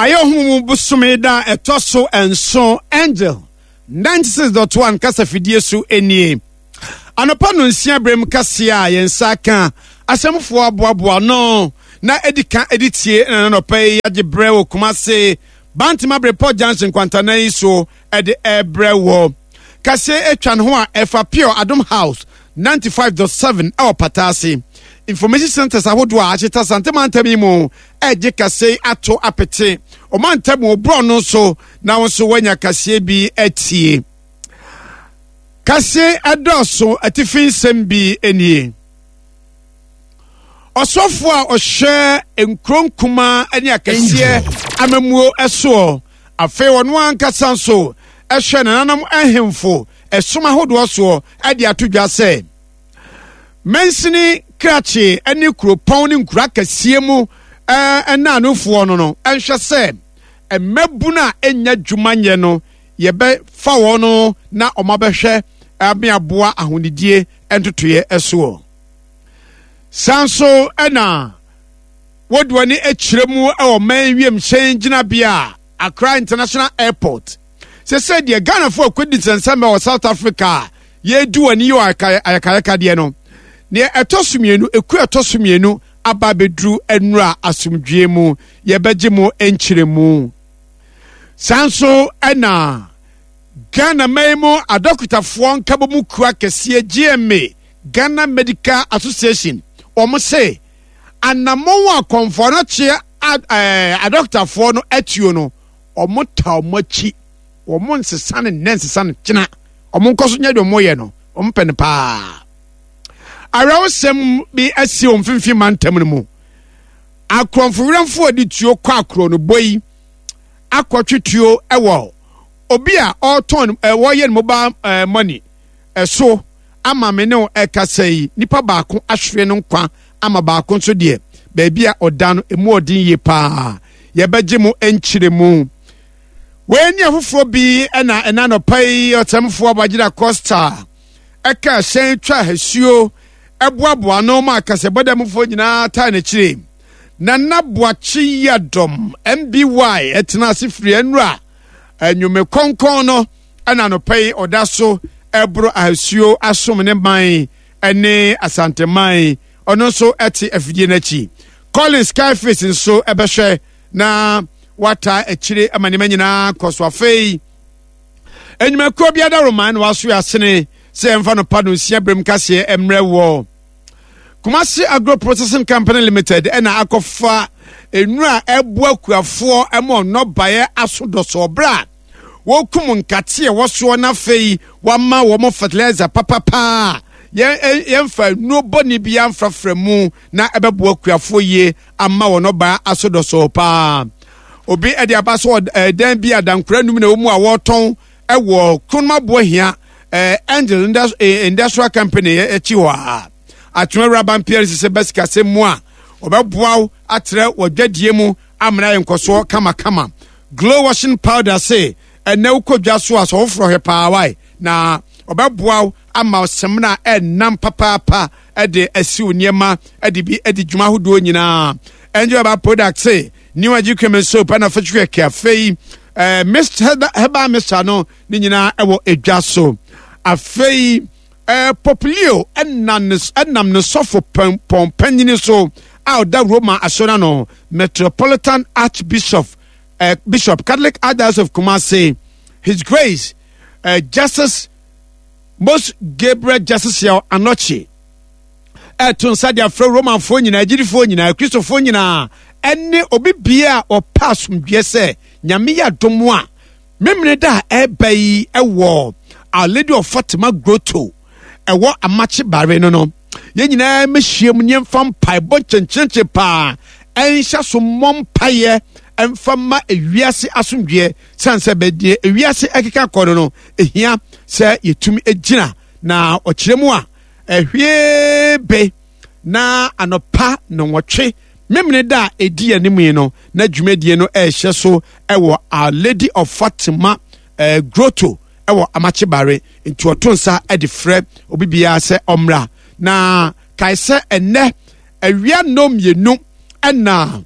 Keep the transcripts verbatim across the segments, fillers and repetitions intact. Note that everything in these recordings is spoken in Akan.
Ayɛ ɔhom mu bosome da ɛtɔ so nson. Angel ninety-six point one kasafidie so nie. Anɔpa no nsia berɛm kaseɛ a yɛn nsa ka asɛmfoɔ aboaboa no na ɛdi ka ɛdi tie na nanɔpa yi agye berɛ wɔ Kumase Bantama Berepɔ Junction kwantana yi so ɛde ɛbrɛ wɔ kaseɛ atwa ne ho a ɛfa Pure Adom House ninety-five point seven ɛwɔ Pataase information centers ahodoɔ a ahyeta Santemantam yi mu ɛgye kaseɛ ato apete ɔmantam wɔ borɔ no nso na wo nso woanya kaseɛ bi atie. Kaseɛ ɛdɔɔso, atifi nsɛm bi nie. Ɔsɔfoɔ a ɔhyɛ nkuro nkumaa ne akɛseɛ amamuo soɔ, afei ɔno ankasa nso ɛhwɛ nananom ahemfo ɛsom ahodoɔ soɔ, ɛde ato dwa sɛ mansini krakye ne kuropɔn ne nkuro akɛseɛ mu ɛnaanofoɔ no no ɛnhwɛ sɛ mmabunu a ɛnya dwuma nyɛ no yɛbɛfa wɔn no na ɔmo abɛhwɛ ameaboa ahonidie ntotoeɛ ɛsoɔ. San so ɛna wɔde wɔn ani akyerɛ mu ɛwɔ man wiemhyɛn gyinabea a Accra International Airport sɛ sɛ deɛ Ghanafoɔ akɔdi nsɛnsɛm wɔ South Africa a yɛredi wɔn ani yɛ ayakayakadeɛ no, deɛ ɛtɔ so mmienu, eku ɛtɔ so mmienu aba abɛduru nnura asomdwie mu, yɛbɛgye mu nkyerɛmu. San so ɛna Ghana man mu adɔkotafoɔ nkabɔmu kuo kɛseɛ G M A, Ghana Medical Association, wɔn se anammɔn a kɔnfɔ no kyeɛ adɔkotafoɔ no atuo no, wɔn ta wɔn akyi, wɔn nsesa ne nnɛ nsesa ne kyena, wɔn nkɔ so nyɛ deɛ wɔn yɛ no, wɔn pɛ no paa. Awerɛwosɛm bi asi wɔn mfimfini mantam no mu. Akorɔmfo werɛmfoɔ de tuo kɔ akorɔ no bɔ yi akɔtwe tuo wɔ obi a ɔretɔn ɛ wɔyɛ no mobile ɛɛ money ɛso ama me ne ɛkasa yi, nipa baako ahwere no nkwa ama baako nso deɛ, beebi a ɔda no emu ɔden yie paa. Yɛbɛgye mo nkyerɛ mu. Wei ne afoforɔ bi ɛna ɛna nɔpa yi ɔtɛmfoɔ Abagyina Costa ɛka hyɛn twa ahasuo ɛboaboa no ma akasɛbɔdɛmfoɔ nyinaa taa n'akyire. Nana Boakye Yadom M B Y ɛtena ase firi nnura anwume kɔnkɔn no ɛna nɔpa yi ɔda so ɛboro ahasuo asom ne man ɛne Asanteman. Ɔno nso ɛte afidie n'akyi. Collins Skyface nso ɛbɛhwɛ na wata akyire ama nneɛma nyinaa kɔ so. Afei enyumakuo bi adaroman na waso asene sɛ ɛmfa no pa no nsia berem kaseɛ mmerɛ wɔ Kumasi Agro Processing Company Limited ɛna akɔfa nnura a ɛboa kuafoɔ ɛma nnɔbaeɛ aso dɔsɔ berɛ a wɔkum nkate a ɛwɔ soɔ, na afei wama wɔn fertilizer papapaa, yɛn yɛmfa nnuro bɔne bi amfrafra mu na ɛbɛboa kuafoɔ yie ama wɔn ɔbaa aso dɔsɔ paa. Obi ɛde aba so ɛdan bi adankora num na ɛwɔ mu a wɔretɔn ɛwɔ Kronomaboa hia ɛɛ Angel Industrial Company akyi hɔ a Atwema Wura P L C sɛ bɛsikasɛm mu a ɔbɛboa wo atrɛ wɔ dwadie mu amena yɛ nkɔsoɔ kamakama. Glow washing powder se ɛnɛ wokɔ dwa so a sɛ woforɔ hwɛ paa wae na ɔbɛboa wo ama sɛmina ɛnam papaapa ɛde asiw nneɛma ɛde bi ɛde dwuma ahodoɔ nyinaa. Angel Herbal product se New Age Cream soap ɛna fɛtwi kɛkɛ. Afei ɛɛ mist herbal mixture no ne nyinaa ɛwɔ edwa so. Afei ɛɛ Pope Leo ɛnam ne ɛnam ne sɔfo pɔn panyini so a ɔda Roma asɔre ano, Metropolitan Archbishop ɛɛ Bishop, Catholic Archdiocese of Kumasi, His Grace ɛɛ Justice Most Gabriel Justice Yaw Anɔkye, ɛto nsa de afrɛ Romanfoɔ nyinaa, agyidifoɔ nyinaa, Kristofoɔ nyinaa ɛne obi bia a ɔpɛ asomdwoeɛ sɛ Nyame yɛ adom a memene da a ɛreba yi ɛwɔ Our Lady of Fatima Grotto ɛwɔ Amakye Bare no no yɛn nyinaa mɛhyia mu nneɛmfa mpaebɔ nkyɛnkyɛnkyɛn paa ɛnhyɛ so mmɔ mpaeɛ ɛmfa ma ewiase asomdwoeɛ, sane sɛ bɛdeɛ ewiase ɛkeka kɔ no no ehia sɛ yɛtumi gyina. Na ɔkyerɛ mu a ɛhwie be na anɔpa nnɔnwɔtwe memene da a ɛdi anim yi no na dwumadie no ɛrehyɛ so ɛwɔ Our Lady of Fatima eh, Grotto ɛwɔ Amakyebare. Nti ɔto nsa de frɛ obi biara sɛ ɔmmra. Na kae sɛ ɛnnɛ awia nnɔ mmienu ɛna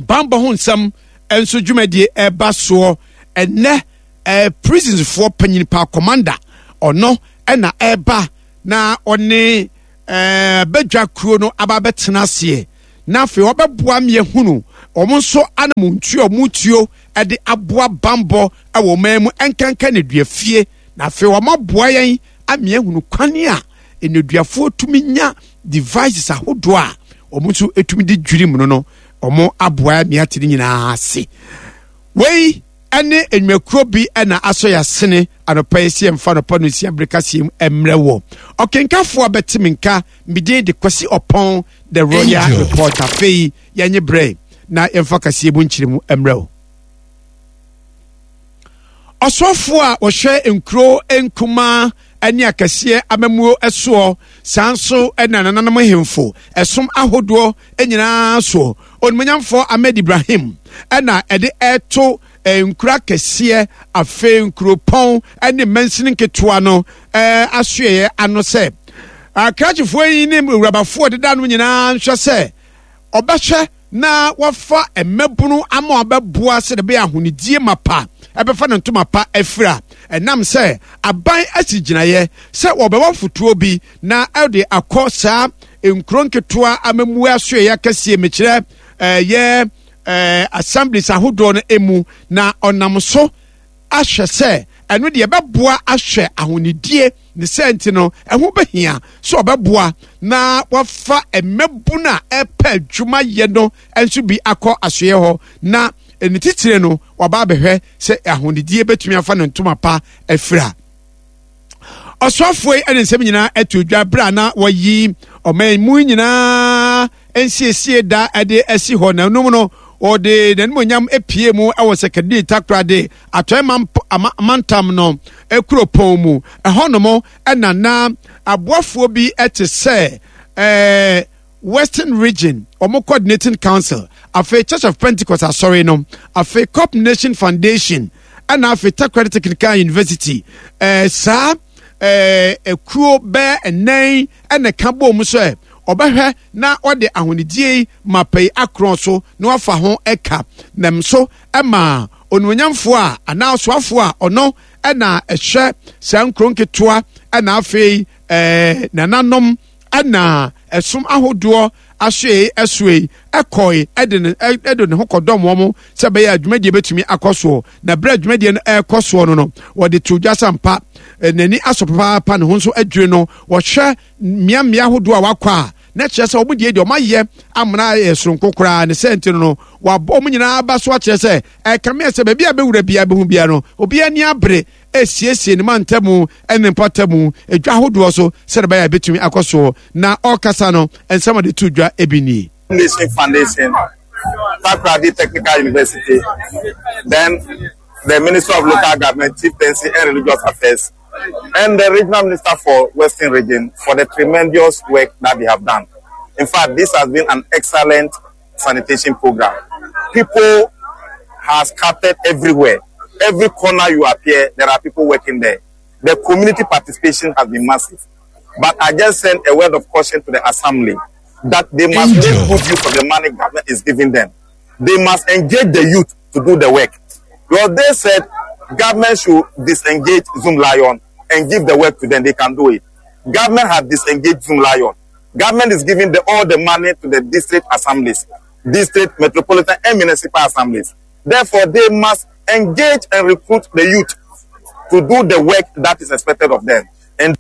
bambɔ ho nsɛm nso dwumadie ɛba soɔ ɛnɛ. ɛɛ prisonsfoɔ panyin pa, commander, ɔno ɛna ɛba na ɔne ɛɛ bɛdwa kuro no aba abɛtena aseɛ, na afei ɔbɛboa mmiɛhunu wɔn nso anamontuo a wɔn tuo ɛde aboa bambɔ ɛwɔ ɔman mu, ɛnkanka nneduafie, na afei wɔn aboa yɛn amiahunu kwan a nneduafoɔ tumi nya devices ahodoɔ a wɔn nso tumi de dwiri mu no no Wɔn aboa mmea te ne nyinaa ase. Wei ne nnwumakuo bi na asɔ yɛ asene anɔpa yi sɛ yɛmfa anɔpa no nsia bere kaseɛ mu mmerɛ wɔ ɔkenkafoɔ a bɛte me nka. Medin de Kwasi Ɔpɔn, The Royal Report. Afei yɛnye berɛ na yɛmfa kaseɛ mu nkyerɛ mu mmerɛ wo. Ɔsoafoɔ a wɔhwɛ nkuro nkumaa ne akɛseɛ amammuo soɔ, saa nso na nananom hemfo ɛsom ahodoɔ nyinaa soɔ, Onimonyamfoɔ Ahmed Ibrahim, ɛna ɛde ɛto nkuro akɛseɛ, afei nkuropɔn ne mansini nketewa no asoɛeɛ ano sɛ akrakyefoɔ yi ne awurabafoɔ deda no nyinaa nhwɛ sɛ ɔbɛhwɛ na wafa mmabunu ama wɔabɛboa sɛdeɛ ɛbɛyɛ ahonidie mapa ɛbɛfa ne ntoma pa afira, ɛnam sɛ aban asi gyinaeɛ sɛ wɔbɛwɔ fotoɔ bi na ɛde akɔ saa nkuro nketewa amammuo asoɛeɛ akɛseɛ, mekyerɛ ɛyɛ ɛɛ assemblies ahodoɔ no emu, na ɔnam so ahwɛ sɛ ɛno deɛ ɛbɛboa ahwɛ ahonidie. Ne sɛ nti no, ɛho bɛhia sɛ ɔbɛboa na wafa mmabunu a ɛpɛ adwuma yɛ no nso bi akɔ asoeɛ hɔ, na ne titire no waba abɛhwɛ sɛ ahonidie bɛtumi afa ne ntoma pa afira. Ɔsoafoɔ yi ne nsɛm nyinaa ato dwa berɛ a na wɔyi ɔman mu nyinaa nsiesie da de asi hɔ, na ɛnom no wɔde n'animonyam pie mu wɔ Sɛkɛdii Takoradi Atɔe Mantam no kuropɔn mu. Ɛhɔnom na na aboafoɔ bi te sɛ ɛɛ Western Region wɔn Coordinating Council, afei Church of Pentecost Asɔre no, afei Cop Nation Foundation, ɛna afei Takoradi Technical University. Ɛɛ saa ɛɛ ekuo bɛɛ nnan ɛna ɛka bɔɔ mu sɛ ɔbɛhwɛ na ɔde ahonidie yi mapa yi akorɔn so na wafa ho ɛka nam so ɛma onuonyamfoɔ a anaa ɔsoafoɔ a ɔno ɛna ɛhwɛ saa nkuro nketewa ɛna afei ɛɛ nananom ɛna ɛsom ahodoɔ asoɛe ɛsoɛe ɛkɔe ɛde ne ɛde ne ho kɔdɔm wɔn sɛ ɛbɛyɛ a dwumadie bɛtumi akɔ soɔ. Na berɛ a dwumadie no ɛrekɔ soɔ no no wɔde to dwa sampa n'ani asɔ papaapa, ne ho nso adwiri no. Wɔhwɛ mmeammea ahodoɔ a wakɔ a, na kyerɛ sɛ wɔn deɛ deɛ wɔn ayɛ amena ayɛ soronko koraa. Ne sɛ nti no no wɔabɔ wɔn nyinaa aba so akyerɛ sɛ ɛkame sɛ baabi a bɛwura biara bɛhu biara no, obiara ani abere esiesie ne mantamu ne mpɔtamu edwa ahodoɔ so sɛdeɛ ɛbɛyɛ a ebɛtumi akɔ soɔ. Na ɔrekasa no, nsɛm a ɔde to dwa ebi nie. Nation Foundation, Takoradi Technical University, then the Minister of Local Government, Chieftaincy and Religious Affairs, and the Regional Minister for Western Region for the tremendous work that they have done. In fact, this has been an excellent sanitation program. People have scattered everywhere. Every corner you appear, there are people working there. The community participation has been massive. But I just send a word of caution to the assembly that they must make good use of the money government is giving them. They must engage the youth to do the work. Because they said government should disengage Zoomlion and give the work to them. They can do it. Government has disengaged Zoomlion. Government is giving the, all the money to the district assemblies, district, metropolitan, and municipal assemblies. Therefore, they must engage and recruit the youth to do the work that is expected of them. And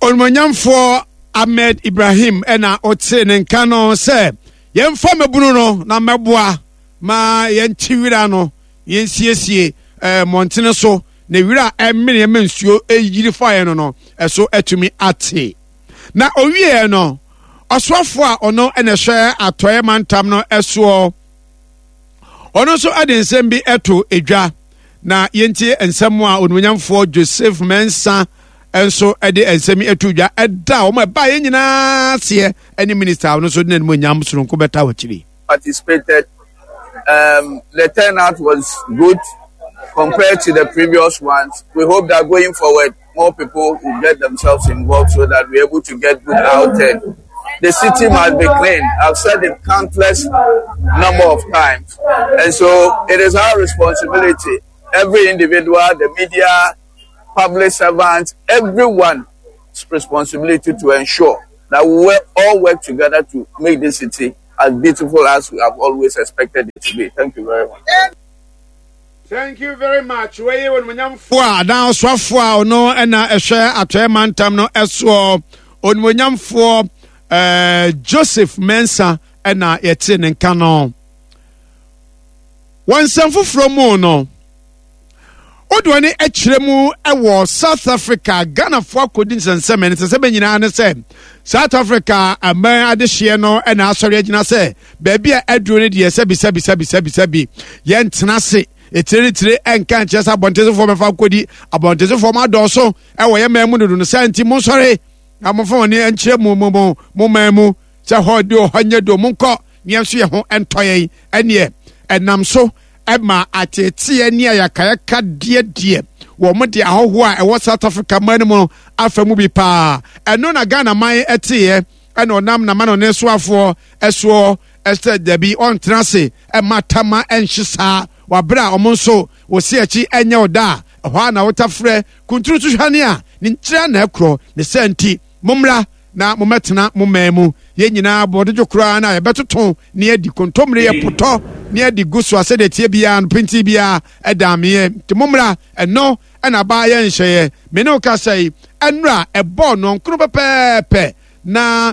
Onimonyamfoɔ Ahmed Ibrahim ɛna ɔte ne nka no sɛ yɛmfa mmabunu no na mmɛboa ma yɛnte wira no, yɛnsiesie ɛɛ mmɔntene so na wira a ɛmene ɛma nsuo ɛyiri faeɛ no no ɛso atumi ate. Na owieɛ no, ɔsoafoɔ a ɔno ɛna ɛhwɛ atɔeɛ mantam no ɛsoɔ, ɔno nso ɛde nsɛm bi ɛto edwa, na yɛntie nsɛm a onimonyamfoɔ Joseph Mensah nso de nsɛm yi ato dwa ɛda a wɔn ɛbaa yɛn nyinaa aseɛ ɛne minista a ɔno nso de n'animuonyam soronko bɛta wɔ akyiri. Participated. Um, the turnout was good compared to the previous ones. We hope that going forward, more people will get themselves involved so that we're able to get good outturn. The city must be clean. I've said it countless number of times. And so it is our responsibility, every individual, the media, public servants, everyone's responsibility to ensure that we all work together to make this city as beautiful as we have always expected it to be. Thank you very much. Thank you very much. Wei onimonyamfoɔ a adan ɔsoafoɔ a ɔno ɛna ɛhwɛ atɔɛ mantam no ɛsoɔ onimonyamfoɔ ɛɛ Joseph Mensah ɛna yɛte ne nka no. Wɔn nsɛm foforɔ mu no, wode wɔn akyerɛ mu wɔ South Africa Ghanafoɔ akɔdi nsɛnsɛm ne nsɛnsɛm nyinaa ne sɛ South Africa aman adehyeɛ no ɛna asɔre agyina sɛ baabi a aduro no deɛ sɛbi sɛbi sɛbi sɛbi sɛbi yɛntena ase etire ne tire ɛnka nkyerɛ sɛ abɔntensofoɔ mɛfa nkɔdi abɔntensofoɔ mo adɔɔso ɛwɔ yɛ man mu dodo no sɛ nti monsɔre na momfa wɔn ani nkyerɛ mo mo mo mo man mu sɛ hɔ de hɔ nyɛ do monkɔ ne yɛn nso yɛ ho ɛntɔ yɛn ɛneɛ ɛnam so ɛma ateeteɛ ne ayakayaka deɛ deɛ wɔn de ahɔhoɔ a ɛwɔ South Africa man no mu afa mu bi paa ɛno na Ghana man ɛteeɛ ɛna ɔnam n'amanɔne soafoɔ ɛsoɔ ɛsɛ dabi ɔntena ase ɛma tama ɛnhye saa wabere a ɔmo nso wɔsi akyi ɛnyɛ ɔda a ɛhɔ a na wɔtafrɛ kunturu so hwane a ne nkyerɛ na ɛkorɔ ne sɛ nti mommra na mommɛtena mo man mu yɛn nyinaa bɔdodwo koraa na yɛbɛtoto ne adi kontommire yɛ potɔ ne adi gu so a sɛdeɛ tie biara no pintin biara ɛda ameɛ nti mommra ɛno ɛna baa yɛ nhyɛeɛ me ne wo kasa yi ɛnora ɛbɔɔ nɔnkono pɛpɛɛpɛ na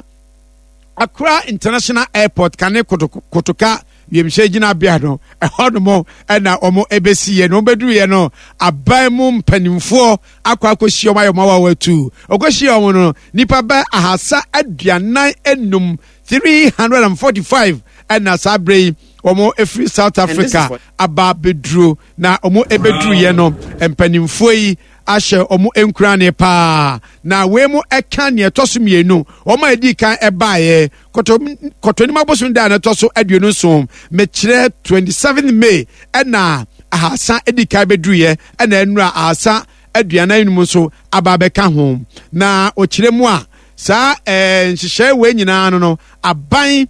Accra International Airport kane kotoka wiemhyɛn gyinabea no ɛhɔ nom ɛna wɔn ɛbɛsi yɛ no wɔn bɛduru yɛ no aban mu mpanimfoɔ akɔ akɔhyia wɔn ayɛ wɔn awawa tu ɔkɔhyia wɔn no nipa bɛ ahasa aduanan enum three hundred and forty five ɛna saa abere yi wɔn efiri South Africa aba abɛduro na wɔn ɛbɛduru yɛ no mpanimfoɔ yi ahyɛ wɔn nkurane paa na wei mu ɛka nea ɛtɔ so mmienu wɔn a edi kan ɛbaeɛ kɔtɔ kɔtɔnim abosom da a ɛtɔ so aduonu nson mekyerɛ twenty seven May ɛna ahasa edi kan bɛduruyɛ ɛna ɛnura ahasa aduanan enum nso aba abɛka ho na ɔkyerɛ mu a saa ɛɛ nhyehyɛe wei nyinaa no no aban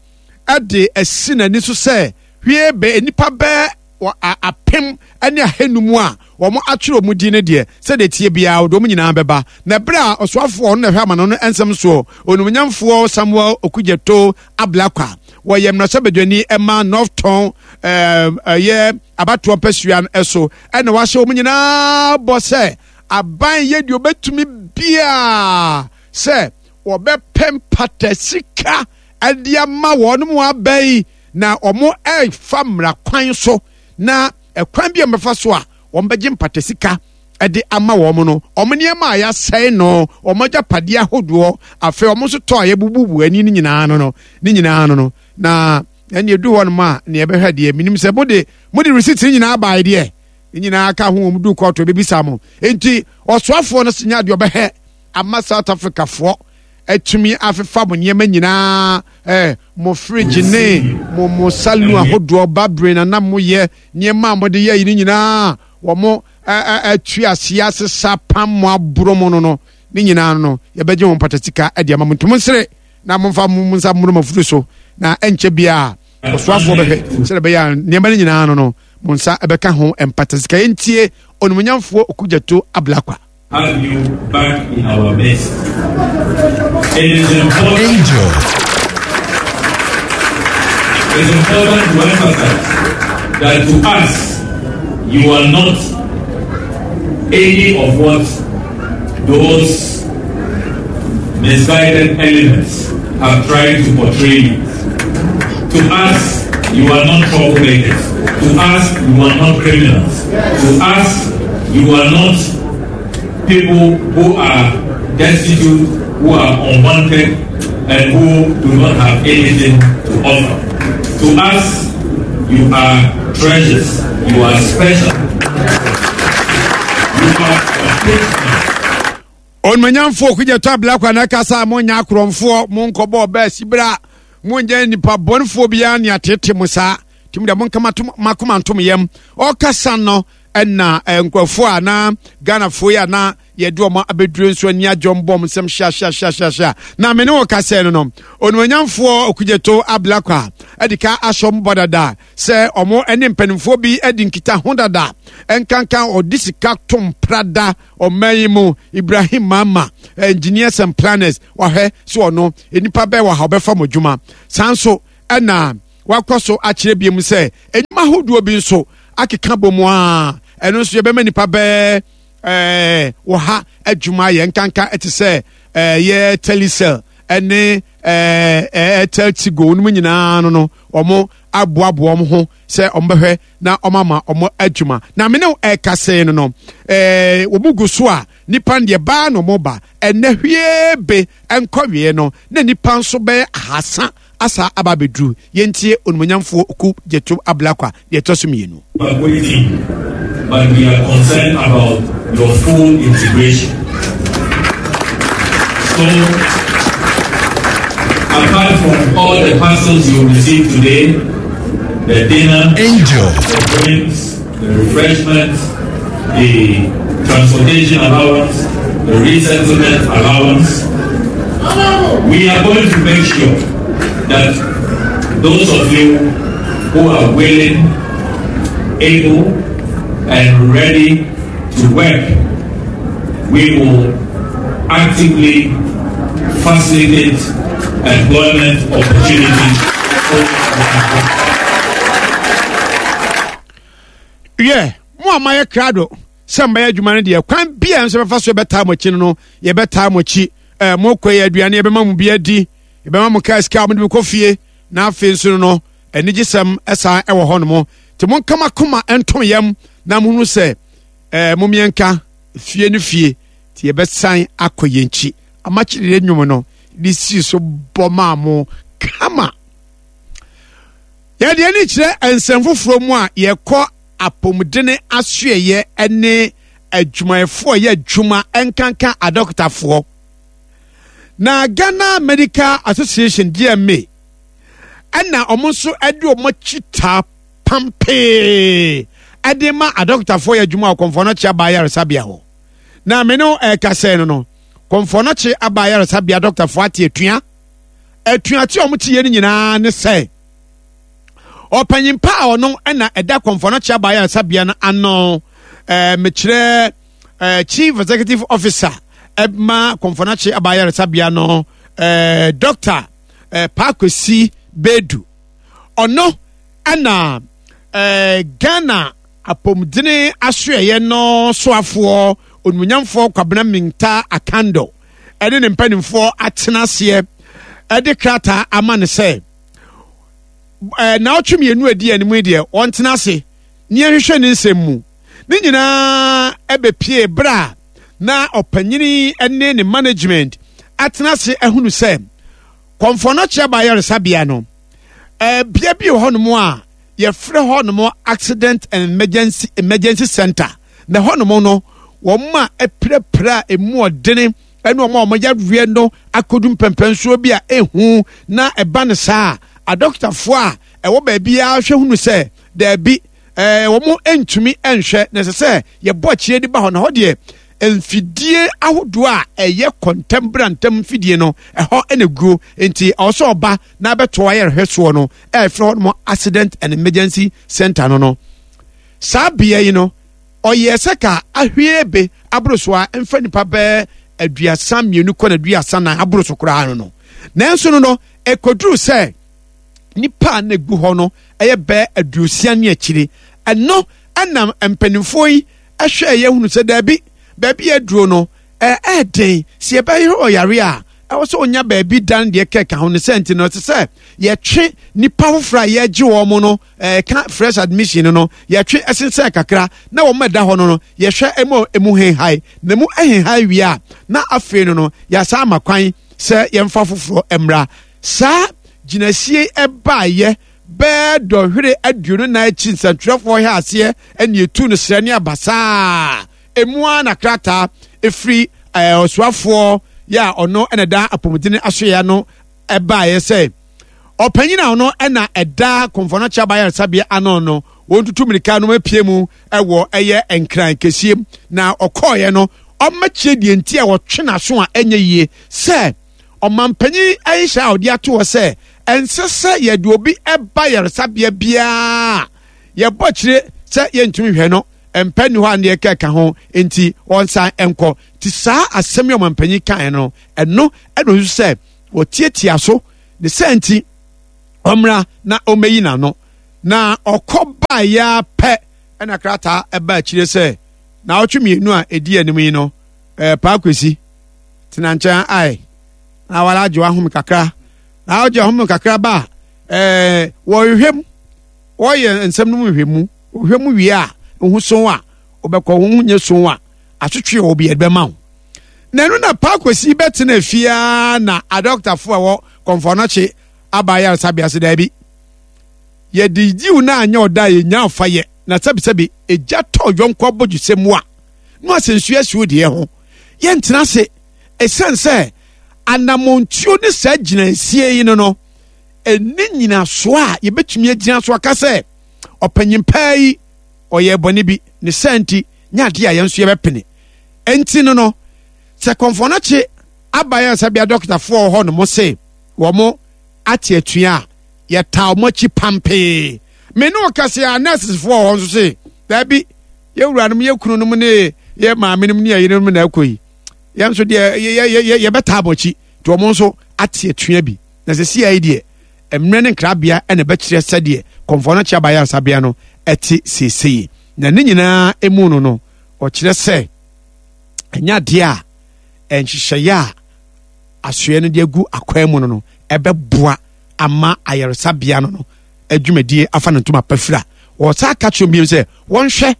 ɛde asi n'ani so sɛ hwie bɛ nipa bɛɛ apem ne ahanum a wɔn atwerɛ wɔn din no deɛ sɛdeɛ tie biara wɔde wɔn nyinaa bɛba na ɛberɛ a ɔsoafoɔ ɔno na ɛhwɛ amano no nsɛm soɔ onumnyamfoɔ Samuel Okudzeto Ablakwa wɔyɛ mmarahyɛbadwani ɛma North Tɔn ɛyɛ abatoɔ mpasua no so ɛna wahyɛ wɔn nyinaa bɔ sɛ aban yɛ deɛ ɔbɛtumi biara sɛ wɔbɛpɛ mpata sika ɛde ama wɔn mu aba yi na wɔn ɛrefa mmara kwan so na ɛkwan bi a wɔbɛfa so a wɔn bɛgye mpata sika ɛde ama wɔn no wɔn nneɛma a yɛasɛe no wɔn agyapadeɛ ahodoɔ afei wɔn nso tɔ a yɛbububu ani no nyinaa no no ne nyinaa no no na ɛne edu hɔ nom a nea ɛbɛhwɛ deɛ minim sɛ mo de mo de receipt ne nyinaa baa deɛ ne nyinaa ka ho wɔn du kɔɔto ebibisa mo nti ɔsoafoɔ no senya deɛ ɔbɛhɛ ama South Africa foɔ atumi afefa mo nneɛma nyinaa ɛɛ mo fridge ne mo mo saloon ahodoɔ babere na nam mo yɛ nneɛma a mo de yɛ yi ne nyinaa wɔn mo ɛɛ atu aseɛ asesa pam mo aboro mo no no ne nyinaa no yɛbɛgye wɔn pata sika ɛde ama mo ntom nsere na momfa mo nsa mmoro mo afuru so na ɛnkyɛ biara ɔsoafoɔ bɛhwɛ sɛdeɛ ɛbɛyɛ a nneɛma no nyinaa no no mo nsa ɛbɛka ho mpata sika. Yɛntie onimonyamfoɔ Okudzeto Ablakwa. Have you back in our midst. It is important. Angel. It's important to emphasize that to us, you are not any of what those misguided elements have tried to portray you. To us, you are not troublemakers. To us, you are not criminals. To us, you are not people who are destitute, who are unwanted, and who do not have anything to offer. To us, you are treasures. You are special. You are a Onumanyamfoɔ Okudzeto Ablakwa na ɛkasa a monyɛ akorɔmfoɔ monkɔbɔ ɔbaa sibira monyɛ nipa bɔnefoɔ biara ne atete mo saa tumi deɛ monka makoma ntom yam ɔkasa no Ɛna nkurɔfoɔ a na Ghanafoɔ yi a na yɛde wɔn abɛduro nso ani agye wɔn bɔ wɔn nsɛm hyeahyeahyeahyea. Na me ne wɔ kasɛɛ no no, Onimonyamfoɔ Okudzeto Ablakwa ɛde ka ahyɛ wɔn bɔ dada sɛ wɔn ne mpanimfoɔ bi adi nkita ho dada, nkanka ɔde sika tom prada ɔman yi mu Ibrahim Mahama, Engineers and Planners, wahwɛ so ɔno nnipa bɛɛ wɔ ha ɔbɛfa mo adwuma. Saa nso ɛna wakɔ so akyerɛ bi mu sɛ enyuma ahodoɔ bi nso akeka bɔ mu a ɛno nso yɛbɛma nipa bɛɛ ɛɛ wɔ ha adwuma yɛ, nkanka ɛte sɛ ɛɛ yɛ Telecel ɛne ɛɛ Airtel Tigo no mu nyinaa no no wɔn aboaboa wɔn ho sɛ wɔn bɛhwɛ na wɔn ama wɔn adwuma. Na mene ɛkasɛɛ no no ɛɛ wɔn gu so a nipa deɛ baa na wɔn ba ɛnɛ hwie be nkɔwie no na nipa nso bɛyɛ ahasa asa aba abɛduru. Yɛntie Onimonyamfoɔ Okudzeto Ablakwa deɛ ɛtɔ so mmienu. But we are concerned about your full integration. So, apart from all the parcels you receive today, the dinner, Angel, the drinks, the refreshments, the transportation allowance, the resettlement allowance, we are going to make sure that those of you who are willing, able, and ready to work, we will actively facilitate employment opportunities. Yeah, mo a mayɛ krado sɛ mbɛyɛ adwuma no deɛ, kwan bia nso bɛfa so yɛbɛtaa mo akyi no no yɛbɛtaa mo akyi. Ɛɛ mo kɔ yɛ aduane, yɛbɛma mo bi adi, yɛbɛma mo kaa sika a mo de kɔ fie, na afei nso no anigyesɛm ɛsan ɛwɔ hɔ nom. Nti monkama koma nto yam na mohunu sɛ ɛɛ mo mmiɛnka fie no fie, nti yɛbɛsan akɔ yɛn akyi. Amakyerɛ nnwom no de sii so bɔ maa mo kama. Yɛde ani kyerɛ nsɛm foforɔ mu a yɛkɔ apɔmudene asoɛyɛ ne adwumayɛfoɔ a yɛ adwuma, nkanka adɔkotafoɔ. Na Ghana Medical Association, G M A, ɛna wɔn nso de wɔn akyi taa pampee ɛde ma adɔkotafoɔ yɛ adwuma wɔ Komfo Anokye Aba Ayaresabea hɔ. Na me no ɛkasɛɛ no no Komfo Anokye Aba Ayaresabea dɔkotafoɔ ate atua. Atuate a wɔn te yɛ no nyinaa ne sɛ ɔpanyin pa a ɔno ɛna ɛda Komfo Anokye Aba Ayaresabea no ano, ɛɛ mekyerɛ ɛɛ Chief Executive Officer ɛma Komfo Anokye Aba Ayaresabea no, ɛɛ Doctor ɛɛ Paa Kwesi Baidoo, ɔno ɛna ɛɛ Ghana apɔmudene asoɛyɛ no soafoɔ Onimonyamfoɔ Kwabena Mintah Akandoh ɛne ne mpanimfoɔ atena aseɛ ɛde krataa ama no sɛ ɛɛ naawɔtwe mmienu adi anim yi deɛ, wɔntena ase ne yɛhwehwɛ ne nsɛm mu. Ne nyinaa ɛbɛpie berɛ a na ɔpanyini ne ne management atena ase ahunu sɛ Komfo Anokye Aba Ayaresabea no, ɛɛ bea bi wɔ hɔnom a yɛfrɛ hɔnom Accident and emergency emergency Center, na hɔnom no wɔn a apirapira a emu ɔdene ɛne wɔn a wɔn yareɛ no akɔdu mpɛmpɛnsoɔ bi a ehu na ɛba no saa, adɔkotafoɔ a ɛwɔ baabi a hwɛ hunu sɛ daabi, ɛɛ wɔn ntumi nhwɛ na ɛsɛ sɛ yɛbɔ akyire de ba hɔ, na hɔ deɛ mfidie ahodoɔ a ɛyɛ kɔntɛm ntɛm mfidie no ɛhɔ ɛna guo, nti ɔwɔ sɛ ɔba na abɛto ayɛrehwɛ soɔ no ɛyɛfrɛ hɔ nom Accident and Emergency Center no no saa bea yi no ɔyɛ sɛ ka ahwie be aboro so a mfa nipa bɛɛ aduasa mmienu kɔ na aduasa nan aboro so koraa no no nanso no no ɛkɔduru sɛ nipa a na egu hɔ no ɛyɛ bɛɛ aduosia ne akyire. Ɛno ɛnam mpanimfoɔ yi ɛhwɛ ɛyɛ hunu sɛ daabi, baabi yɛ duro no ɛɛden sɛ yɛbɛyɛ ɔyare a ɛwɔ sɛ ɔnya baabi dan deɛ kɛka ho no sɛ, nti no ɛsɛ sɛ yɛtwe nipa foforɔ a yɛgye wɔn no ɛɛka fresh admission no no yɛtwe ɛsensɛn kakra na wɔn ɛda hɔ no no yɛhwɛ ɛmu emu henhae na emu ɛhenhae wie a, na afei no no yɛasan ama kwan sɛ yɛmfa foforɔ mmra. Saa gyinasie ɛbaayɛ bɛɛ dɔhwere aduonu nan akyi, nsɛntwerɛfoɔ hɛ aseɛ ɛne etu no srɛ ne abasaa emu ara na krataa efiri ɛɛ ɔsoafoɔ yɛ a ɔno ɛna da apɔmuden asoya no ɛbaayɛ sɛ Ɔpanyin a ɔno ɛna ɛda Komfo Anokye Abayaresabea ano no, wɔntutu mmirika no apue mu ɛwɔ ɛyɛ Nkran kɛseɛ na ɔkɔɔeɛ no, ɔmmɛkyerɛ deɛ nti a wɔtwe n'aso a ɛnyɛ yie sɛ ɔmanpanyin ɛnhyɛ a ɔde ato hɔ sɛ ɛnsɛ sɛ yɛde obi ɛba yaresabea biara yɛbɔ kyerɛ sɛ yɛntumi hwɛ no mpɛ ni hɔ a neɛ kɛka ho nti wɔnsan nkɔ. Nti saa asɛm yi ɔmanpanyin kan no, ɛno ɛna osu sɛ wɔtiatia so ne sɛ nti ɔmmra na ɔmmɛyi n'ano. Na ɔkɔ baeɛ pɛ ɛna krataa ɛba akyire sɛ na ɔtwe mmienu a ɛdi anim yi no, ɛɛ Paa Kwesi tena nkyɛn ae na wala agye wahome kakra na agye ahome kakra ba ɛɛ wɔhwehwɛ mu, wɔyɛ nsɛm no mu hwehwɛ mu, wɔhwehwɛ mu wie a ho so a ɔbɛkɔ ho nyɛ so a atwetwe wɔ bi ɛbɛma wo. Na ɛno na Paa Kwesi bɛtena fie na adɔktafo a ɛwɔ Komfo Anokye aba ayaresabea se daabi, yɛde yiw na anyɛ ɔda a yɛnya afa yɛ na sɛbisɛbi egya tɔ yɔnko abɔdwesɛ mu a na asɛnsu asi wo deɛ ho. Yɛntena ase ɛsiane sɛ anammɔntuo ne saa gyinansie yi no no ɛni nyinasoɔ a yɛbɛtumi agyina so aka sɛ ɔpanyin paa yi ɔyɛ bɔne bi ne saa nti nyɛ adeɛ a yɛn nso yɛbɛpene. Ɛnti no no sɛ Komfo Anokye aba ayaresabea dɔktafoɔ wɔ hɔ nom se wɔn ate atua a yɛtaa wɔn akyi pampee. Me ne ɔkɛse a nurses foɔ wɔ hɔ nso se daabi, yɛ wuranom, yɛ kununom ne yɛ maamenom ne yɛ yerenom na ɛkɔ yi, yɛn nso deɛ yɛbɛtaa wɔn akyi. Nti wɔn nso ate atua bi. Na sɛ si ayi deɛ mmerɛ ne nkrabea ɛna ɛbɛkyerɛ sɛdeɛ Komfo Anokye aba ayaresabea no ɛte seesei. Na ne nyinaa emu no no ɔkyerɛ sɛ ɛnyɛ adeɛ a nhyehyɛeɛ a asoɛ no de agu akwan mu no no ɛbɛboa ama ayaresabea no no adwumadie afa ne ntoma pafira. Wɔsan ka kyerɛ bio sɛ wɔnhwɛ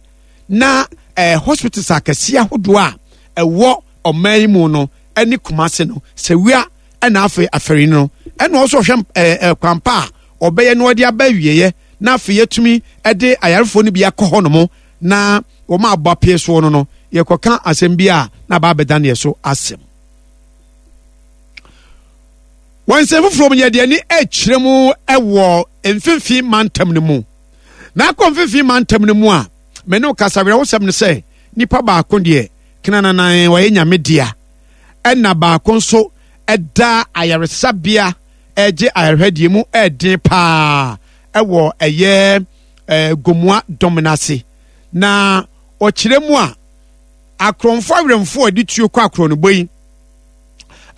na ɛɛ hospitals akɛseɛ ahodoɔ a ɛwɔ ɔman yi mu no ɛne Kumase no sɛwia ɛna afei afɛri no ɛna ɔso ɔhwɛ ɛɛ ɛɛ kwampa a ɔbɛyɛ na ɔde aba awieɛ na afei yɛtumi ɛde ayarefoɔ no bi akɔ hɔ nom na wɔn a abɔ apee soɔ no no yɛkɔka asɛm bi a na aba abɛda neɛ so asɛm. Wɔn nsɛm foforɔ mu yɛde ani akyerɛ mu ɛwɔ mfimfini mantam no mu. Na akɔ mfimfini mantam no mu a me ne kasa werɛwosɛm no sɛ nipa baako deɛ kenananan wɔyɛ nyame dea, ɛna baako nso ɛda ayaresabea ɛgye ayarehwɛdeɛ mu ɛden paa ɛwɔ ɛyɛ ɛɛ Gomoa dɔm n'ase. Na ɔkyerɛ mu a akorɔmfo awerɛmfo a ɛde tuo kɔ akorɔnobɔ yi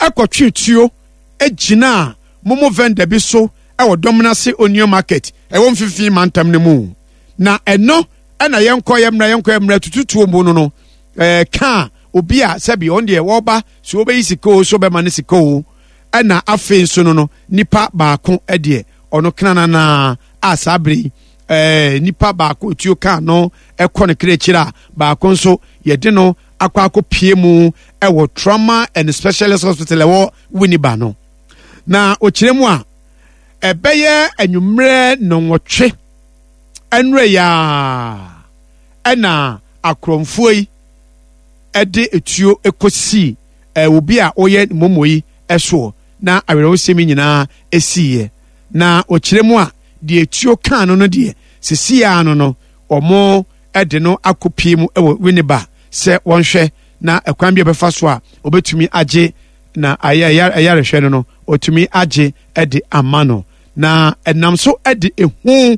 ɛkɔtwe tuo egyina momo vendor bi so ɛwɔ dɔm n'ase Onion Market ɛwɔ mfimfini mantam no mu. Na ɛno ɛna yɛnkɔ yɛ mmerɛ yɛnkɔ yɛ mmerɛ tututuo mu no no ɛɛ kaa obi a sɛbi ɔn deɛ wɔba so wɔbɛyi sika o so bɛma ne sika o. Ɛna afei nso no no nipa baako ɛdeɛ ɔno kenanana a saa bere yi ɛɛ nipa baako tuo kaa no ɛkɔ ne kra akyire a baako nso yɛde no akɔ akɔ pie mu ɛwɔ Trauma and Specialist Hospital ɛwɔ Winneba no. Na ɔkyerɛ mu a ɛbɛyɛ anwummerɛ nnɔnwɔtwe ɛnwerɛ yaa ɛna akorɔmfoɔ yi ɛde etuo ɛkɔsii ɛɛ obi a ɔyɛ momo yi ɛsoɔ na awerɛwosɛm yi nyinaa esiiɛ. Na ɔkyerɛ mu a deɛ etuo kaa no no deɛ sisi ano no ɔmo ɛde no akɔpie mu ɛwɔ Winneba sɛ wɔnhwɛ na ɛkwan bi a ɔbɛfa so a ɔbɛtumi agye na ayɛ ɛyarehwɛ no no ɔtumi agye ɛde ama no. Na ɛnam so ɛde ehu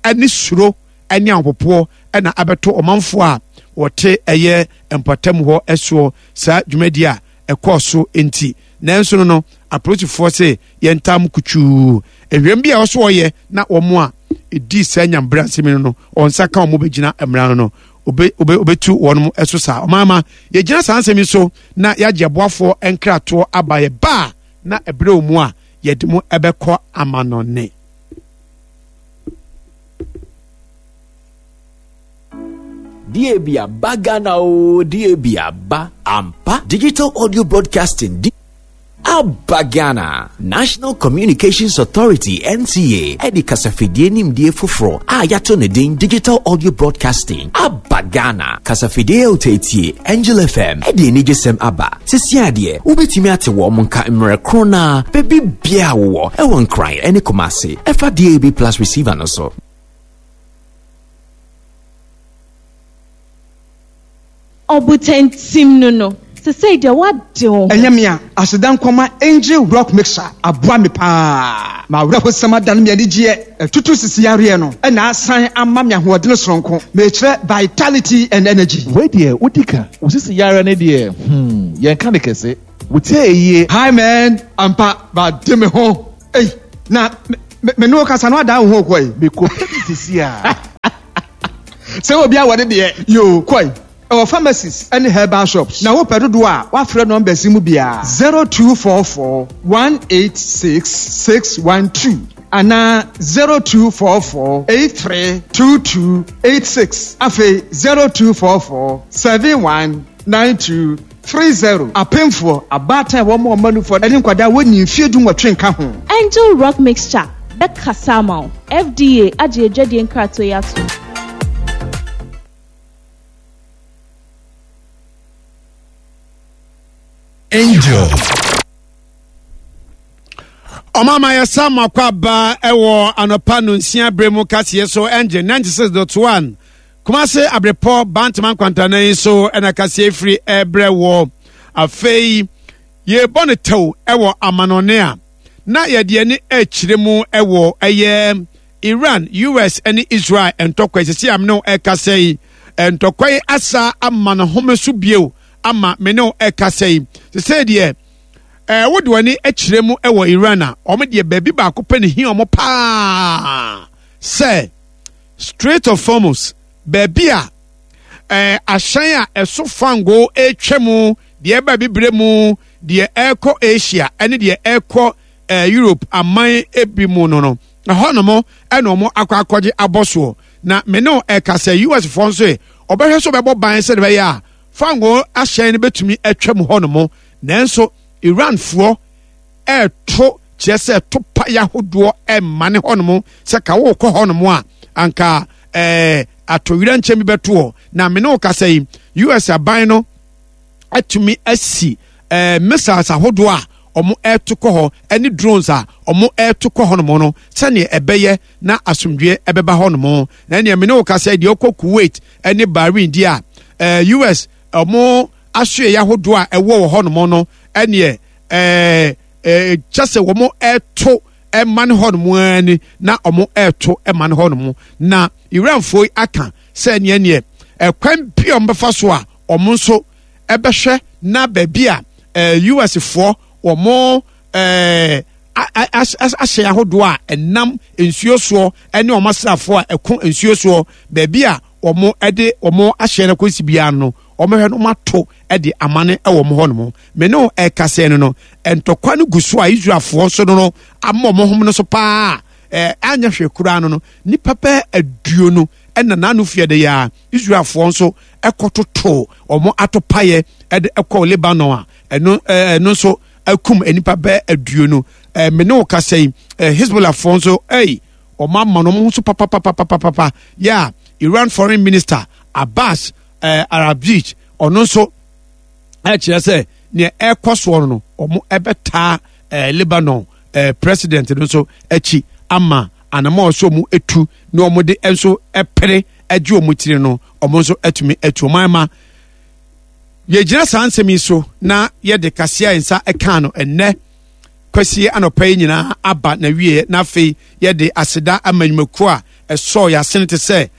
ɛne suro ɛne ahopopoɔ ɛna abɛto ɔmanfoɔ a wɔte ɛyɛ mpɔtam hɔ ɛsoɔ saa dwumadie a ɛkɔɔ so nti. Nanso no no apolisifoɔ se yɛntam kutuu ehwɛm bi a ɔso ɔyɛ na wɔn a edi saa nyambra nsɛm no no wɔn nsa ka wɔn bɛgyina mmara no no obe obe obetu wɔn ɛso saa. Ɔmaama yɛgyina saa nsɛm yi so na yɛagye aboafoɔ nkratoɔ aba yɛ ba na ɛbrɛ wɔ mu a yɛde mu ɛbɛkɔ amanɔne. D A B aba Ghana o, D A B aba ampa. Digital audio broadcasting D A Aba Ghana. National Communications Authority N C A ɛde kasafidie nimdie foforɔ a yɛato ne din Digital Audio Broadcasting aba Ghana. Kasafidie a wotaatie Angel F M ɛde anigyesɛm aba. Sisi adeɛ, wobɛtumi ate wɔn mo nka mmerɛ koro naa baabi biaa wowɔ ɛwɔ Nkran ɛne Kumase ɛfa D A B Plus receiver no so. Ɔbotantim no no sesei deɛ woade wo ho. Ɛnyɛ me a aseda nkɔma Angel Rock Mixer aboa me paa ma awerɛhosɛm adane me anigyeɛ, ɛtutu sisi yareɛ no ɛna asan ama me ahoɔdene soronko, mekyerɛ vitality and energy. Wei deɛ, wodi ka wo sisi yare ne deɛ, hmm yɛnka ne kɛse, wotie yie. Hi man, ampa bade me ho. Ei, na me me ne wo kasa no adan wo ho kɔi. Mekɔpɛ bi sisi a. Sɛ obi awɔ ne deɛ yo kɔi, ɛwɔ pharmacies ɛne herbal shops, na wopɛ dodoɔ a, wafrɛ numbers yi mu biara: zero two four four one eight six six one two anaa zero two four four eight three two two eight six, afei zero two four four seven one nine two three zero. Apemfoɔ, abaatan a wɔn a wɔn anufoɔ ne nkwadaa wɔnyi mfie du nwɔtwe nka ho. Angel Rock Mixture bɛkasa ama wo. F D A agye adwadie nkratoɔ yi ato. Angel. Ɔmama yɛsa makɔ aba ɛwɔ anɔpa no nsia berɛ mu kaseɛ so, Angel ninety-six point one Kumase Abrepɔ Bantama nkwantanan yi so ɛna kaseɛ firi ɛbrɛ wɔ. Afei yɛbɔ no tɛw ɛwɔ amanɔne a na yɛde ani akyerɛ mu ɛwɔ ɛyɛ Iran, U S ne Israel ntɔkwa. Sisi a mene ɛkasa yi, ntɔkwa yi asa ama ne home so bio ama mene ɛkasa yi. Sisi deɛ ɛɛ wode w'ani akyerɛ mu ɛwɔ Iran a, wɔn deɛ baabi baako pɛ ne hi wɔn paa sɛ Strait of Hormuz, baabi a ɛɛ ahyɛn a ɛso fango retwa mu, deɛ ɛba Bibire mu, deɛ ɛrekɔ Asia ɛne deɛ ɛrekɔ ɛɛ Europe aman ebi mu no no ɛhɔnom ɛna wɔn akɔ akɔgye abɔ soɔ. Na me ne ɛka sɛ U S foɔ nso yi ɔbɛhwɛ so bɛbɔ ban sɛde bɛyɛ a fango ahyɛn no bɛtumi atwa mu hɔnom, nanso Iran foɔ ɛɛto kyerɛ sɛ to pa ahodoɔ ɛmma ne hɔnom sɛ ka wɔrekɔ hɔnom a anka ɛɛ atɔwira nkyɛn bi bɛtoɔ. Na me ne wo kasa yi, U S aban no atumi asi ɛɛ missiles ahodoɔ a wɔn ɛreto kɔ hɔ ɛne drones a wɔn ɛreto kɔ hɔnom no sɛnea ɛbɛyɛ na asomdwe ɛbɛba hɔnom. Na ɛnea me ne wo kasa yi deɛ, ɔkɔ Kuwait ɛne Bahrain deɛ a, ɛɛ U S wɔn asoɛ ahodoɔ a ɛwɔ wɔ hɔnom no ɛneɛ ɛɛ ɛɛ kyɛ sɛ wɔn ɛreto ɛma ne hɔnom ara ni na wɔn ɛreto ɛma ne hɔnom. Na Iranfoɔ yi aka sɛ neɛ neɛ ɛkwan bi a wɔn bɛfa so a wɔn nso ɛbɛhwɛ na baabi a ɛɛ U S foɔ wɔn ɛɛ ahyɛ ahodoɔ a ɛnam nsuo soɔ ɛne wɔn asraafoɔ a ɛko nsuo soɔ, baabi a wɔn ɛde wɔn ahyɛ no kɔsi biara no, wɔn hwɛ no wɔn ato ɛde amane ɛwɔ wɔn hɔnom. Mene no ɛkasa no no ntɔkwa no gu so a Israelfoɔ nso no no ama wɔn ho no so paa. ɛɛ anya hwɛ koraa no no nipa bɛɛ aduonu ɛna n'ano fie de yɛ a Israelfoɔ nso ɛkɔtoto wɔn atopaeɛ ɛde ɛkɔ Lebanon a ɛno ɛɛ ɛno nso akum nipa bɛɛ aduonu. ɛɛ mene wo kasa yi, ɛɛ Hezbollahfoɔ nso ɛyi wɔn ama no wɔn ho so papapapapapa yɛ a Iran Foreign Minister Abbas ɛɛ Araghchi ɔno nso ɛkyerɛ sɛ nea ɛrekɔ soɔ no, wɔn ɛbɛtaa ɛɛ Lebanon ɛɛ president no nso akyi ama anamɔ ɔsɔ mu etu na wɔn de nso ɛpere ɛgye wɔn tiri no, wɔn nso atumi atu wɔn ama. Yɛgyina saa nsɛm yi so na yɛde kaseɛ a nsa ɛka no ɛnnɛ Kwasie anɔpa yi nyinaa aba na wie. Na afei yɛde aseda ama nnwumakuo a ɛsɔɔ yɛasene te sɛ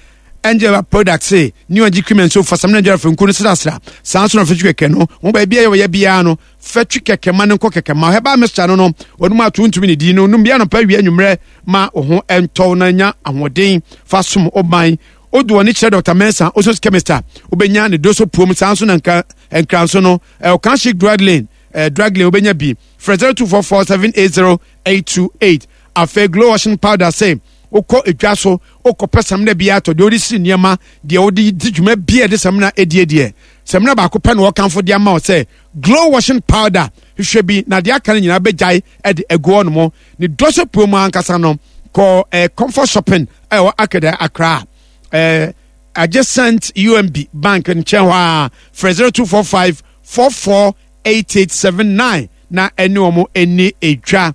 Angel Products, New Angel Cream and Soap, Fasamina Angel Fenku no srasra saa nso na fɛtwi kɛkɛ no wɔn baabi a yɛwɔ biara no, fɛtwi kɛkɛ ma no nkɔ kɛkɛ ma herbal mixture no no wɔn mu ato ntumi ne di no num bi anɔpa, awia, anwummerɛ ma wo ho ɛntɔw na nya ahoɔden fa som ɔban. Odu wɔn kyerɛ Doctor Mensa Osos Chemist a wobɛnya ne doso puom. Saa nso na nka nkranso no ɛwɔ Chic Drug Lane, ɛɛ Drug Lane, wobɛnya bi. Frɛ zero two four four seven eight zero eight two eight. Afei Glow washing powder, sɛ wokɔ edwa so wokɔpɛ samina bi atɔ, deɛ wode siri nneɛma, deɛ wode di dwuma bi a ɛde samina edie deɛ, samina baako pɛ na wɔkamfo de ama wo sɛ Glow washing powder. Hwehwɛ bi na deɛ aka no nyinaa bɛgyae de agu hɔ nom. Ne dɔsɔ puo mu ankasa no, kɔ eh, Comfort Shopping a ɛwɔ Akeda Accra, eh, adjacent U M B Bank nkyɛn hɔ a, frɛ zero two four five four four eight eight seven nine na ɛne wɔn ani edwa.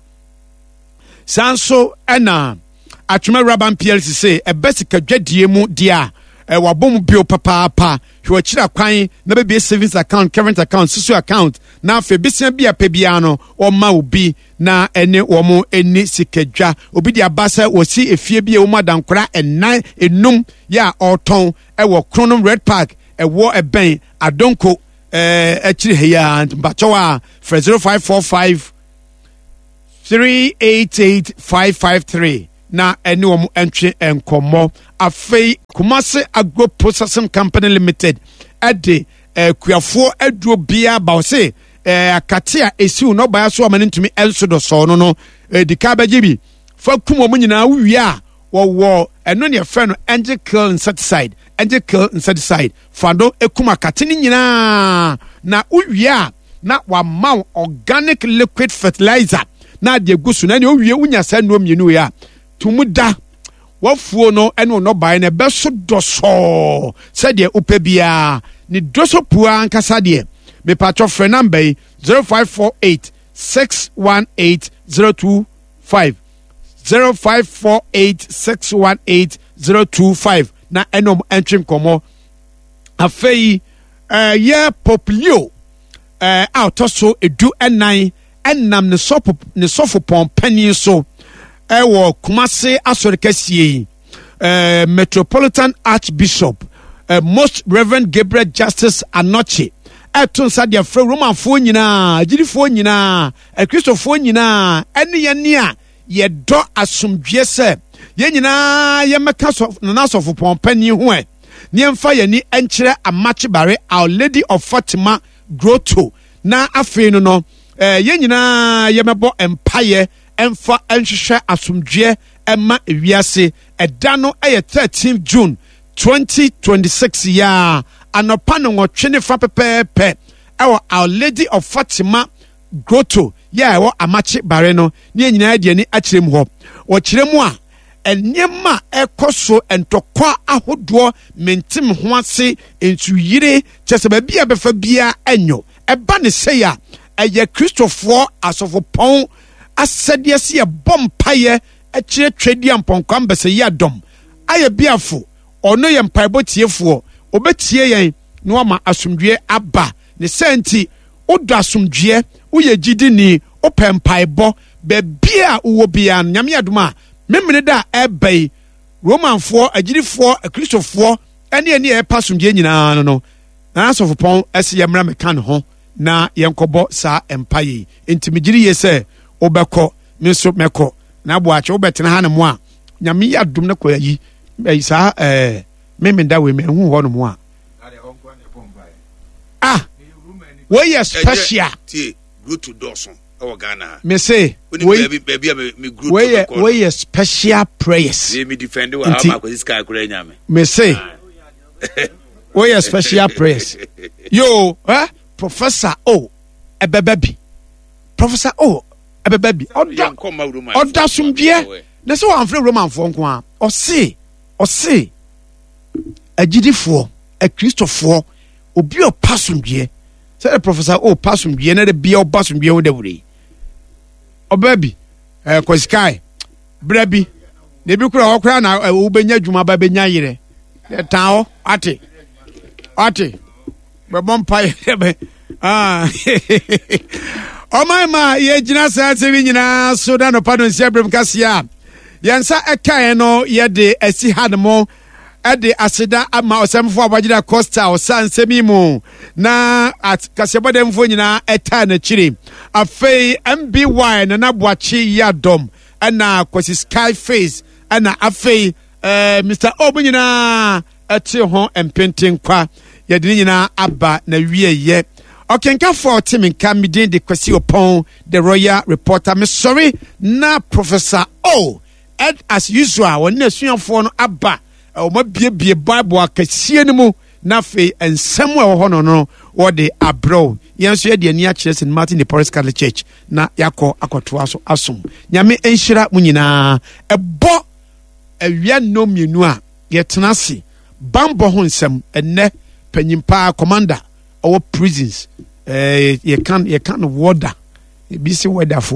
Saa nso ɛna Atwoma Raban P L C sɛ ɛbɛ sikadwadie mu deɛ a, wabɔ mu bio papaapa. Hwɛ akyiri akwan na bɛbie savings account, current account, susu account, na afei besia bi a pɛ biara no wɔma obi na ɛne wɔn ani sikadwa. Obi de aba sɛ wɔsi efie bi a wɔn adankora ɛnan enum yɛ a ɔretɔn ɛwɔ Kronom Red Park, ɛwɔ ɛbɛn Adonko ɛɛ akyiri ha yi a, mpakyɛw a, frɛ zero five four five three eight eight five five three na ɛne wɔn ntwe nkɔmmɔ. Afei Kumase Agro Processing Company Limited ɛde akuafoɔ aduro biara ba. Ɔse ɛɛ akate a esiw n'ɔbaa so ama ne ntumi nso dɔsɔɔ no no edi ka bɛgye bi fa kum wɔn nyinaa. Wowie a, wɔwɔ ɛno ne yɛfrɛ no Angel Kill insecticide. Angel Kill insecticide fa do ekum akate ne nyinaa, na wowie a, na wama wo organic liquid fertilizer na ade egu so. Na nea owie wonya saa nnuro mmienu yi a, tumu da wafuo no ne ɔnɔbaeɛ no ɛbɛso dɔsɔɔ sɛdeɛ wopɛ biara. Ne dɔsɔ pua ankasa deɛ, mepatwɔ, frɛ number yi: zero five four eight six one eight zero two five, zero five four eight six one eight zero two five, na ɛnom ɛntwe nkɔmmɔ. Afei ɛyɛ Pope Leo ɛɛ a ɔtɔ so edu ɛnan ɛnam ne sɔfo ne sɔfo panin so ɛwɔ Kumase asɔre kɛseɛ yi, ɛɛ Metropolitan Archbishop ɛɛ Most Reverend Gabriel Justice Anɔkye, ɛto nsa deɛ frɛ Romanfoɔ nyinaa, agyidifoɔ nyinaa, akristofoɔ nyinaa, ɛne yɛn ni a yɛdɔ asomdwie sɛ yɛn nyinaa yɛmmɛka sɔ Nana Asɔfopɔn panin ho ɛ ne yɛmfa yɛn ani nkyerɛ Amakyebare Our Lady of Fatima Grotto. Na afei no no ɛɛ yɛn nyinaa yɛmɛbɔ mpaeɛ ɛmfa nhwehwɛ asomdwoeɛ ɛma ewiase. Ɛda no ɛyɛ thirteen June twenty twenty-six yaa, anɔpa no nwɔtwe ne fa pɛpɛɛpɛ, ɛwɔ Our Lady of Fatima Grotto yɛ a ɛwɔ Amakye Bare no, ne yɛn nyinaa de ani akyerɛ mu hɔ. Wɔkyerɛ mu a, nneɛma a ɛkɔ so, ntɔkwa ahodoɔ, mentem ho ase, nsuyire, kyɛ sɛ baabi a bɛfa biara ɛnyɔ ɛba ne sɛe a, ɛyɛ Kristofoɔ asɔfopɔn asɛdeɛ sɛ yɛbɔ mpayɛ akyerɛ Twɛdi Ampɔnkwa mbɛsɛ yi adɔm ayɛ biafo. Ɔno yɛ mpaebɔ tiefoɔ, ɔbɛtie yɛn na wama asomdwie aba. Ne sɛ nti wodɔ asomdwoeɛ, woyɛ gyidini, wopɛ mpaebɔ, baabi a wowɔ biara no, Nyame adom a, memene da a ɛba yi, Romanfoɔ agyidifoɔ, akristofoɔ, ɛne ɛne a ɛpa asomdwoeɛ nyinaa no no na asɔfopɔn ɛsɛ yɛmmra meka ne ho na yɛnkɔbɔ saa mpa yi. Nti megyere yie sɛ wobɛkɔ, me nso mɛkɔ. Na Aboakye, wobɛtena ha ne mo a, Nyame yɛ adom no kɔ ayi ɛyi saa ɛɛ memenda wei mahu hɔ nom a, ah, wɔyɛ special. Tie, grotto dɔɔso ɛwɔ Ghana ha. Me se Wonim wei baabi baabi a me me grotto wei yɛ mekɔ no. Wei yɛ special prayers. Wei mi defend wɔ ha Nti- ma akɔsi sika akora nya me. Me se wei yɛ special prayers yo. Eh, Professor O ɛbɛbɛ bi, Professor O ɛbɛbɛ bi, ɔda Yɛnkɔ mma Roman. Ɔda asomdwoeɛ na sɛ wɔamfrɛ Romanfoɔ nko a, ɔse ɔse agyidifoɔ, akristofoɔ, obi a ɔpa asomdwoeɛ sɛde Professor O pa asomdwoeɛ na de bia ɔba asomdwoeɛ ho dawuro yi, ɔbaa bi ɛɛ kɔsikae berɛ bi na ebi kura hɔ koraa na ɛ, wobɛnya adwuma ba bɛnya yerɛ ɛtan hɔ ate ate bɛbɔ mpa yɛ bɛ ah. Ɔman ma yɛgyina saa nsɛm yi nyinaa so na nɔpa no nsia berɛm kaseɛ a yɛn nsa ɛkaeɛ no, yɛde asi ha no mo ɛde aseda ama ɔsɛmfo a wagyina Costa ɔsa nsɛm yi mu na at kaseɛbɔdɛmfoɔ nyinaa ɛtaa n'akyiri. Afei M B Y Nana Boakye Yiadɔm, ɛna Kwasi Sky Face, ɛna afei eh, Mister O mu nyinaa ɛte ho mpentenkwa. Yɛde ne nyinaa aba na wieyɛ. Ɔkenkafoɔ a ɔte me nka, me din de Kwasi Opɔn, The Royal Reporter. Mesɔre na Professor O ed as usual, wɔne n'asuafoɔ no aba, wɔn abiebie Bible akɛseɛ no mu. Na afei nsɛm a ɛwɔ hɔ no no wɔde abrɛ wo. Yɛn nso yɛde ani akyerɛ Saint Martin de Porres Catholic Church na yɛakɔ akɔtoa so asom. Nyame nhyira mo nyinaa. Ɛbɔ awia nnɔn mmienu a yɛtena ase bambɔ ho nsɛm. Ɛnnɛ panyin paa commander ɔwɔ prisons, ɛɛ yɛka yɛka no warder, ebi si warderfoɔ.